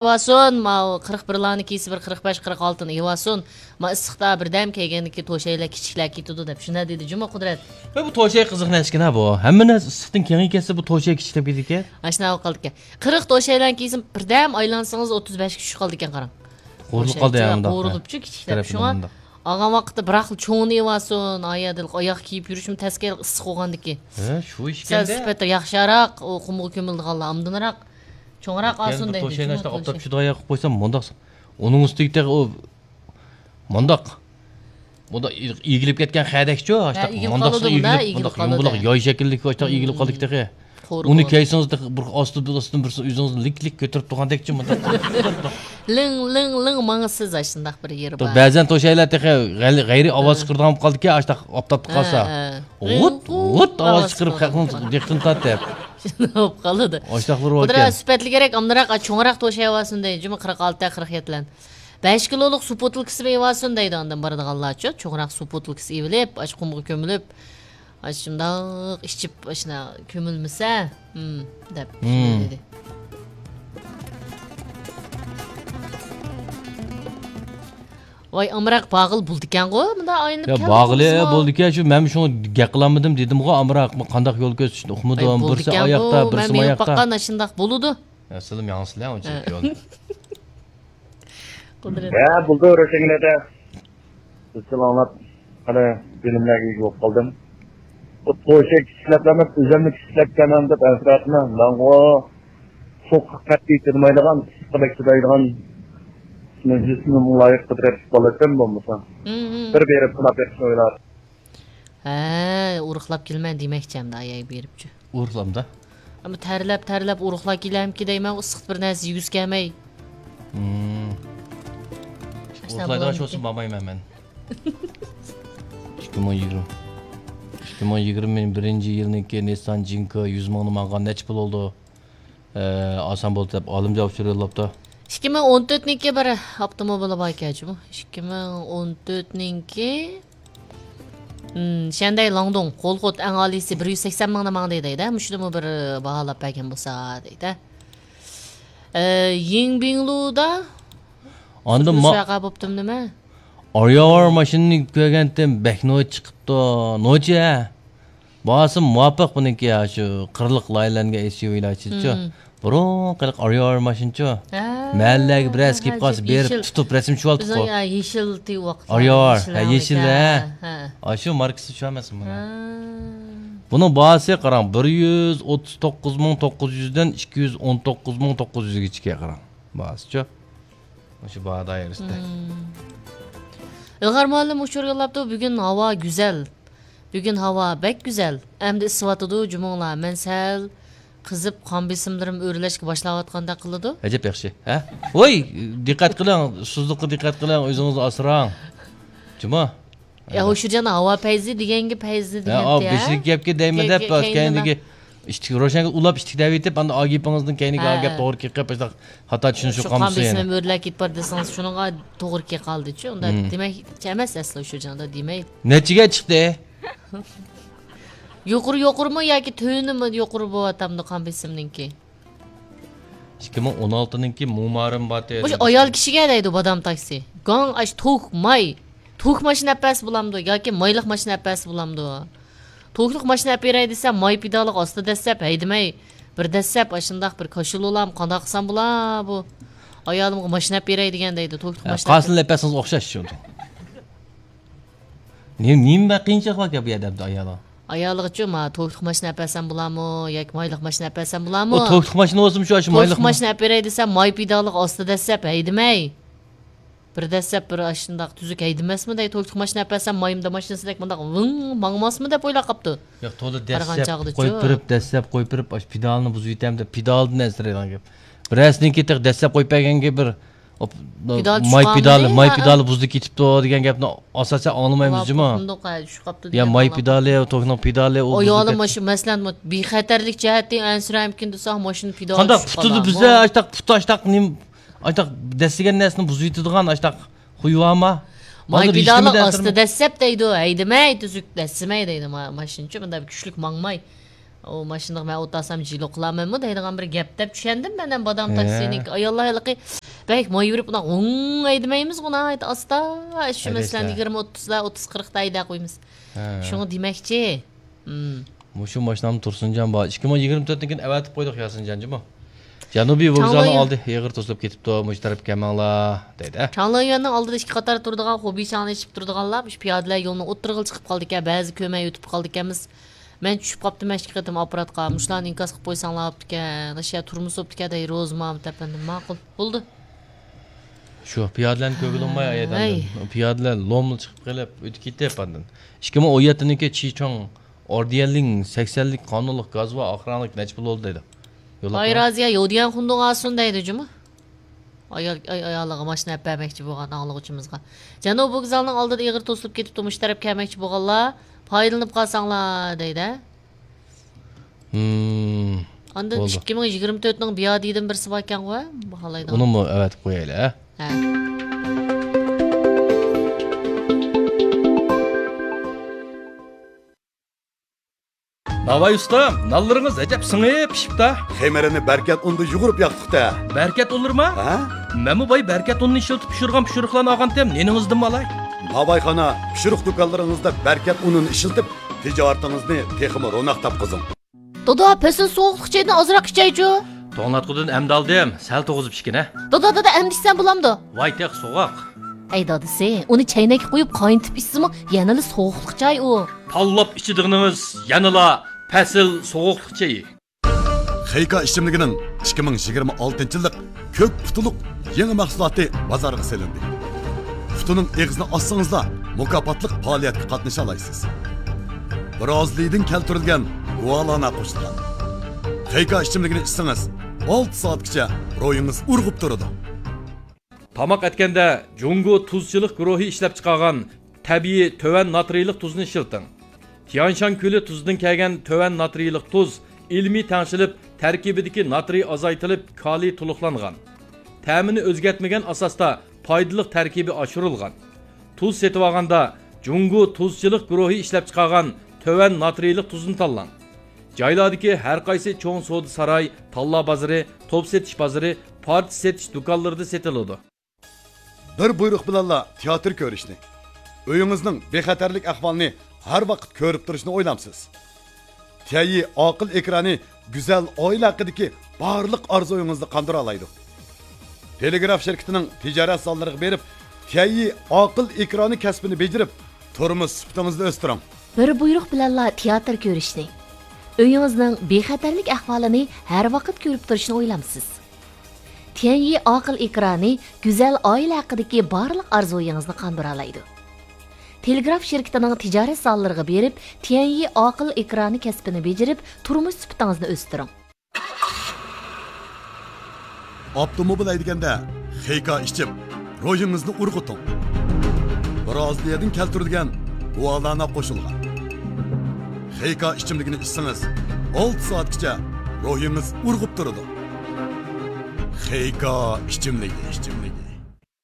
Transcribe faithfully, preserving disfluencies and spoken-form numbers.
ئېلىۋالسۇن، ماۋۇ قىرىق بىرلارنى كىيسە، بىر قىرىق بەش، قىرىق ئالتىنى ئېلىۋالسۇن. ما ئىسسىقتا بىردەم كىيگەندىن كېيىن توشايلار كىچىكلەر كېتىدۇ دەپ شۇنداق دېدى جۇمۇ قۇدرەت. ۋە بۇ توشاي قىزىق نەرسىكەن ھە بۇ. ھەممە نەرسە ئىسسىقتىن كېڭىيىپ كەتسە بۇ توشاي كىچىكلەپ كېتىدىكەن. ئاشۇنداق بولۇپ قالىدىكەن. قىرىق توشايلارنى كىيسە، بىردەم ئايلانسىڭىز ئوتتۇز بەشكە چۈشۈپ قالىدىكەن قاراڭ. قورۇلۇپ قالدى يا مۇنداق. قورۇلۇپچۇ كىچىكلەپ. شۇڭا ئالغان ۋاقىتتا بىراقلا چوڭىنى ئېلىۋالسۇن، ئاياغدا ئاياغ كىيىپ يۈرۈشمۇ تەسكە ئىسسىق بولغاندىكى. ھە، شۇ ئىشكەندە. سەل سۈپەتتە ياخشىراق، ئۇ قۇمغا كۆمۈلىدىغانلار ئامدىنراق. چوڭراق ئالسۇن دەيدۇ، توشاينى ئاشتاق ئوپتاپ شۇداق قىلىپ قويسام، مۇنداق ئۇنىڭ ئۈستىگە تېخى ئۇ مۇنداق. مۇنداق ئېگىلىپ كەتكەن خەدەكچۇ، ئاشتاق مۇنداق ئېگىلىپ قالىدۇ، مۇنداق ياي شەكىللىك ئاشتاق ئېگىلىپ قالدى تېخى. ئۇنى كىيسىڭىز تېخى بىر ئاستىدىن، ئاستىدىن بىرسى ئۆزىڭىزنى لىك لىك كۆتۈرۈپ تۇرغاندەكچۇ مۇنداق. لىڭ لىڭ لىڭ ماڭىسىز ئاشۇنداق بىر يېرى بار. بەزەن توشايلار تېخى غەيرىي ئاۋاز چىقىرىدىغان بولۇپ قالدىكەن، ئاشتاق ئاپتاپتا قالسا. غۇت غۇت ئاۋاز چىقىرىپ خەقنىڭ دىققىتىنى تارتىپ. شۇنداق بولۇپ قالىدۇ. ئاشتاقلار بار ئىكەن. سۈپەتلىكرەك ئامراق چوڭراق توشايۋالسۇن دەيدۇ جۇمۇ قىرىق ئالتە، قىرىق يەتتىلەرنى. بەش كىلولۇق سۇ بوتۇلكىسى ئېلىۋالسۇن دەيدۇ ئاندىن بارىدىغانلارچۇ. چوڭراق سۇ بوتۇلكىسى ئېلىپ ئاشۇ قۇمغا كۆمۈلۈپ، ئاشۇنداق ئىچىپ ئاشۇنداق كۆمۈلمىسە دەپ دېدى. ۋاي ئامراق بارغىلى بولىدىكەنغۇ مۇنداق ئايلىنىپ يا كەلدى بارغىلى بولىدىكەن شۇ مەن شۇڭا گەپ قىلالمىدىم دېدىمغۇ ئامراق قانداق يول كۆرسىتىشنى ئۇقمىدىم بىرسى ئاياقتا بىرسى ماياقتا. مەن مېڭىپ باققان ئاشۇنداق بولىدۇ. يا سىلىم ياڭسىلەر ئۇنچىلىك يول. قۇدرەت. ھە بولدى روشەنگۈل ئەدە. ئىزچىل ئاڭلاپ، قېنى، بىلىملەرگە ئىگە بولۇپ قالدىم. بۇ توشەك ئىشلەپلەرمۇ ئۆزۈمنى ئىشلەپكەنمەن دەپ ئەنسىرەپمەن. ماڭغۇ سوغۇققا قەتئىي چىدىمايدىغان، ئىسسىققا بەك چىدايدىغان، جىسمىم لايىق قۇدرەتلىك بالا ئىكەن بولمىسا. بىر بېرىپ سىناپ بېقىشنى ئويلاپ. ھە، ئورۇقلاپ كېلىمەن دېمەكچى ئەمدى ئاياي بېرىپچۇ. ئورۇقلامدا؟ ئەمما تەرلەپ، تەرلەپ ئورۇقلاپ كېلەمكى دەيمەن، ئىسسىقتا بىر نەرسە يېگۈسى كەلمەي. ئورۇقلايدىغان شۇ بولسا بارمايمەن مەن. ئىككى مىڭ يىگىرمە، ئىككى مىڭ يىگىرمە بىرىنچى يىلنىڭكى نىسسان جىنكا يۈز مىڭنى ماڭغان نەچچە پۇل بولدى؟ ئاسان بولدى دەپ ئالىمجان ئۇچۇر يوللاپتۇ. ئىككى مىڭ ئون تۆتنىڭكى بىر ئاپتوموبىلى بار ئىكەن جۇمۇ. ئىككى مىڭ ئون تۆتنىڭكى شەندەي لاڭدۇڭ قول خوت ئەڭ ئالىيسى بىر يۈز سەكسەن مىڭنى ماڭدى دەيدۇ. مۇشۇنىمۇ بىر باھالاپ بەرگەن بولسا دەيدۇ. يىڭبىڭلۇدا ئاندىن سۈپۈرۈش ۋەقە بوپتۇ نېمە؟ ئارياۋار ماشىنىنى كۆرگەنتىم، بەك نوچى چىقىپتۇ. نوچى ھە. باھاسى مۇۋاپىق بۇنىڭكى، يا شۇ قىرلىق لاينەرگە ئېسيۇۋىلار ئىچىدىچۇ. بۇرۇنقى ئارياۋار ماشىنىچۇ. مەھەللىلەرگە بىرەرسى كېلىپ قالسا بېرىپ تۇتۇپ رەسىم چۈشۈۋالدۇققۇ. يېشىل تىۋ ۋاقىت ئارياۋار ھە، يېشىل ھە. ئاشۇ ماركىسى شۇ ئەمەسمۇ بۇنىڭ؟ بۇنىڭ باھاسى قاراڭ، بىر يۈز ئوتتۇز توققۇز مىڭ توققۇز يۈزدىن ئىككى يۈز ئون توققۇز مىڭ توققۇز يۈزگىچىكى قاراڭ باھاسىچۇ. مۇشۇ باھا دائىرىسىدە. ئىلغار مۇئەللىم ئۇچۇر يوللاپتۇ، بۈگۈن ھاۋا گۈزەل. بۈگۈن ھاۋا بەك گۈزەل. ئەمدى ئىسسىۋاتىدۇ، جۇمۇڭلار. مەن سەل قىزىپ، قان بېسىملىرىم ئۆرلەشكە باشلاۋاتقاندەك قىلىدۇ. ئەجەب ياخشى، ھە؟ ۋوي، دىققەت قىلىڭ، ئۇسسۇزلۇققا دىققەت قىلىڭ، ئۆزىڭىزنى ئاسراڭ. جۇمۇ. يا، ھوشۇرجان، ھاۋا پەيزى دېگەنگە پەيزى دېگەنتى، ھە؟ بېشىدىكى گەپكە دەيمەن دەپ، كەينىدىكى ئىشتىكى روشەنگە ئۇلاپ ئىشتىك دەۋېتىپ، ئاندىن ئاگېپىڭىزدىن كەينىگە ھە، گەپ توغرا كېلىپ قېلىپ، ئاشۇنداق خاتا چۈشىنىش قان بولسۇن يەنە. بېسىمىم ئۆرلەپ كېتىپ بار دېسىڭىز، شۇنىڭغا توغرا كېلىپ قالدىچۇ. ئۇنداق دېمەكچى ئەمەس ئەسلى ئۇشۇرجان، ئۇنداق دېمەي. نەچچىگە چىقتى؟ يۇقىرى يۇقىرىمۇ ياكى تۆۋىنىمۇ يۇقىرى بولۇۋاتامدۇ قان بېسىمنىڭكى؟ ئىككى مىڭ ئون ئالتىنىڭكى مۇمارىم باتى. مۇشۇ ئايال كىشىگە دەيدۇ بادام تاكسى. گاڭ ئاش توك ماي. توك ماشىنا ئەپ بەرسە بولامدۇ ياكى مايلىق ماشىنا ئەپ بەرسە بولامدۇ؟ توكلۇق ماشىنا ئەپ بېرەي دېسە، ماي پېدالىغا ئاستا دەسسەپ ھەيدىمەي، بىر دەسسەپ ئاشۇنداق بىر كاشۇل بولام، قانداق قىلسام بولا بۇ؟ ئايالىمغا ماشىنا ئەپ بېرەي دېگەن دەيدۇ، توكلۇق ماشىنا ئەپ قالسىلا ئەپ بەرسىڭىز ئوخشاش شۇ. نېمە، نېمە قىيىنچىلىق باركەن بۇ يەردە ئەمدى ئايالغا؟ ئايالىغىچۇ، ما توكلۇق ماشىنا ئەپ بەرسەم بولامۇ ياكى مايلىق ماشىنا ئەپ بەرسەم بولامۇ؟ ئۇ توكلۇق ماشىنا بولسىمۇ شۇ، ئاشۇ مايلىق توكلۇق ماشىنا ئەپ بېرەي دېسە، ماي پېدالىغا ئاستا دەسسەپ ھەيدىمەي. بىر دەسسەپ بىر ئاشۇنداق تۈزۈك ھەيدىمەسمۇ دەي، توكلۇق ماشىنا ئەپ بەرسەم مايىمدا ماشىنىسىدەك مۇنداق ۋىڭ ماڭماسمۇ دەپ ئويلاپ قاپتۇ. ياق، تولا دەسسەپ قويۇپ بېرىپ، دەسسەپ قويۇپ بېرىپ، ئاشۇ پېدالنى بۇزۇۋېتەم دەپ، پېدالدىن ئەنسىرەيدىغان گەپ. بىرەرسىنىڭكى تېخى دەسسەپ قويۇپ بەرگەنگە بىر ماي پېدالى، ماي پېدالى بۇزۇلۇپ كېتىپتۇ دېگەن گەپنى ئاساسەن ئاڭلىمايمىز جۇمۇ. يا ماي پېدالى، توكنىڭ پېدالى ئۇ بۇزۇلۇپ كەتتى. ئايالىم مۇشۇ مەسىلەن بىخەتەرلىك جەھەتتىن ئەنسىرەمكىن دېسە، ماشىنا پېدالى قانداق پۇتىدا بىزدە ئاشتاق پۇتى ئاشتاق نېمە ئاشتاق دەسسىگەن نەرسىنى بۇزۇۋېتىدىغان ئاشتاق خۇي بارما؟ ماي پېدالى ئاستا دەسسەپ دەيدۇ، ھەيدىمەي، تۈزۈك دەسسىمەي دەيدۇ. ماشىنىچۇ مۇنداق كۈچلۈك ماڭماي. ئۇ ماشىنىغا مەن ئولتۇرسام جىلو قىلارمەنمۇ دەيدىغان بىر گەپ دەپ چۈشەندىم مەن ھەم بادام ھە. تاكسىنىڭكى. ئاياللار ھېلىقى بەك مايۋېرىپ ئۇنداق ھوڭ ھەيدىمەيمىزغۇ، ناھايىتى ئاستا. شۇ ھەيدەشتە. مەسىلەن، يىگىرمە، ئوتتۇزدا، ئوتتۇز، قىرىقتا ھەيدەپ قويىمىز. ھە. شۇڭا دېمەكچى. مم. مۇشۇ ماشىنامدا تۇرسۇنجان بار. ئىككى مىڭ يىگىرمە تۆتنىڭكىنى ئەۋەتىپ قويدۇق ياسىنجان جۇمۇ. جەنۇبىي ۋوگزالنىڭ چاڭلايۈەن. ئالدى ئېغىر توسۇلۇپ كېتىپتۇ، مۇشۇ تەرەپكە كەلمەڭلار دەيدۇ. چاڭلايۈەننىڭ ئالدىدا ئىككى قاتار تۇرىدىغان خوبىچاڭنى ئېچىپ تۇرىدىغانلار مۇشۇ پىيادىلەر يولنىڭ ئوتتۇرىغا چىقىپ قالىدىكەن، بەزى كۆرمەي ئۆتۈپ قالىدىكەنمىز. مەن چۈشۈپ قاپتىمەن ئىككى قېتىم ئاپپاراتقا، مۇشۇلارنى ئىنكاس قىلىپ قويساڭلار بوپتىكەن، ئاشۇ يەر تۇرمىسا بوپتىكەن دەي روزىمامۇت ئەپەندىم. ماقۇل، بولدى. شۇ پىيادىلەرنى كۆرگىلى بولماي ئايەدەم. ھەي. پىيادىلەر لوملا چىقىپ قېلىپ ئۆتۈپ كېتىپ ئاندىن. ئىككى مىڭ ئون يەتتىنىڭكى چىچۇڭ ئوردىيەنلىڭ سەكسەنلىك قانۇنلۇق گازۋا ئاخرانلىق نەچچە پۇل بولدى دەيدۇ. يوللىق باي بار. رازىيە يوديەن خۇندۇڭ ئاسۇن دەيدۇ جۇمۇ. ئايال، ئاي-، ئايالىغا ماشىنا ئەپ بەرمەكچى بولغان ئاڭلىغۇچىمىزغا. جەنۇبىي ۋوگزالنىڭ ئالدىدا ئېغىر توسۇلۇپ كېتىپتۇ، مۇشۇ تەرەپكە كەلمەكچى بولغانلار پايدىلىنىپ قالساڭلار دەيدۇ. ھىم. ئاندىن بولدى. ئىككى مىڭ يىگىرمە تۆتنىڭ بىيادىدىن بىرسى باركەنغۇ، باھالايدىغان. ئۇنىمۇ ئەۋەتىپ قويايلى، ھە؟ ھە. ناۋاي ئۇستام، نانلىرىڭىز ئەجەب سىڭىپ پىشىپتا. خېمىرىنى بەركەت ئۇندا يۇغۇرۇپ ياقتۇق-تە. بەركەت ئۇنلىرىما؟ ھە؟ مەنمۇ باي بەركەت ئۇنىنى ئىشلىتىپ پىشۇرغان پىشۇرۇقلارنى ئالغانتىم، نېنىڭىزدىنمۇ ئالاي. ناۋايخانا، پىشۇرۇق دۇكانلىرىڭىزدا بەركەت ئۇنىنى ئىشلىتىپ، تىجارىتىڭىزنى تېخىمۇ روناق تاپقۇزۇڭ. دادا، پەسىل سوغۇقلۇق چايدىن ئازراق ئىچەيچۇ. توڭلاتقۇدىن ئەمدى ئالدىم، سەل توغۇزۇپ ئىچكىنە. دادا، دادا، ئەمدى ئىچسەم بولامدۇ؟ ۋاي تېخى سوغۇق. ئەي دادىسى، ئۇنى چەينەككە قۇيۇپ قاينىتىپ ئىچسىمۇ يەنىلا سوغۇقلۇق چاي ئۇ. تاللاپ ئىچىدىغىنىڭىز يەنىلا پەسىل سوغۇقلۇق چېيى. خېيكا ئىچىملىكىنىڭ ئىككى مىڭ يىگىرمە ئالتىنچى يىللىق كۆك پۇتىلىق يېڭى مەھسۇلاتى بازارغا سېلىندى. پۇتىنىڭ ئېغىزىنى ئاچسىڭىزلا، مۇكاپاتلىق پائالىيەتكە قاتنىشالايسىز. برازىلىيىدىن كەلتۈرۈلگەن گۇالانا قوشۇلغان. خېيكا ئىچىملىكىنى ئىچسىڭىز، ئالتە سائەتكىچە روھىڭىز ئۇرغۇپ تۇرىدۇ. تاماق ئەتكەندە جۇڭگو تۇزچىلىق گۇرۇھى ئىشلەپچىقارغان تەبىئىي تۆۋەن ناترىيلىق تۇزنى ئىشلىتىڭ. تيانشان كۆلى تۇزىدىن كەلگەن تۆۋەن ناترىيلىق تۇز ئىلمىي تەڭشىلىپ، تەركىبىدىكى ناترىي ئازايتىلىپ، كالىي تولۇقلانغان. تەمىنى ئۆزگەرتمىگەن ئاساستا پايدىلىق تەركىبى ئاشۇرۇلغان. تۇز سېتىۋالغاندا جۇڭگو تۇزچىلىق گۇرۇھى ئىشلەپچىقارغان تۆۋەن ناترىيلىق تۇزنى تاللاڭ. جايلاردىكى ھەرقايسى چوڭ سودا ساراي، تاللا بازىرى، توپ سېتىش بازىرى، پارچە سېتىش دۇكانلىرىدا سېتىلىدۇ. بىر بۇيرۇق بىلەنلا تىياتىر كۆرۈشنى، ئۆيىڭىزنىڭ بىخەتەرلىك ئەھۋالىنى ھەر ۋاقىت كۆرۈپ تۇرۇشنى ئويلامسىز؟ تيەنيى ئاقىل ئېكرانى گۈزەل ئائىلە ھەققىدىكى بارلىق ئارزۇيىڭىزنى قاندۇرالايدۇ. تېلېگراف شىركىتىنىڭ تىجارەت زاللىرىغا بېرىپ، تيەنيى ئاقىل ئېكرانى كەسپىنى بېجىرىپ، تۇرمۇش سۈپىتىڭىزنى ئۆستۈرۈڭ. بىر بۇيرۇق بىلەنلا تىياتىر كۆرۈشنى، ئۆيىڭىزنىڭ بىخەتەرلىك ئەھۋالىنى ھەر ۋاقىت كۆرۈپ تۇرۇشنى ئويلامسىز؟ تيەنيى ئاقىل ئېكرانى گۈزەل ئائىلە ھەققىدىكى بارلىق ئارزۇيىڭىزنى قاندۇرالايدۇ. تېلېگراف شىركىتىنىڭ تىجارەت زاللىرىغا بېرىپ، تيەنيى ئاقىل ئېكرانى كەسپىنى بېجىرىپ، تۇرمۇش سۈپىتىڭىزنى ئۆستۈرۈڭ. ئاپتوموبىل ھەيدىگەندە خېيكا ئىچىپ، روھىڭىزنى ئۇرغۇتۇڭ. برازىلىيەدىن كەلتۈرۈلگەن گۇالانا قوشۇلغان. خېيكا ئىچىملىكىنى ئىچسىڭىز، ئالتە سائەتكىچە روھىڭىز ئۇرغۇپ تۇرىدۇ. خېيكا ئىچىملىكى، ئىچىملىكى.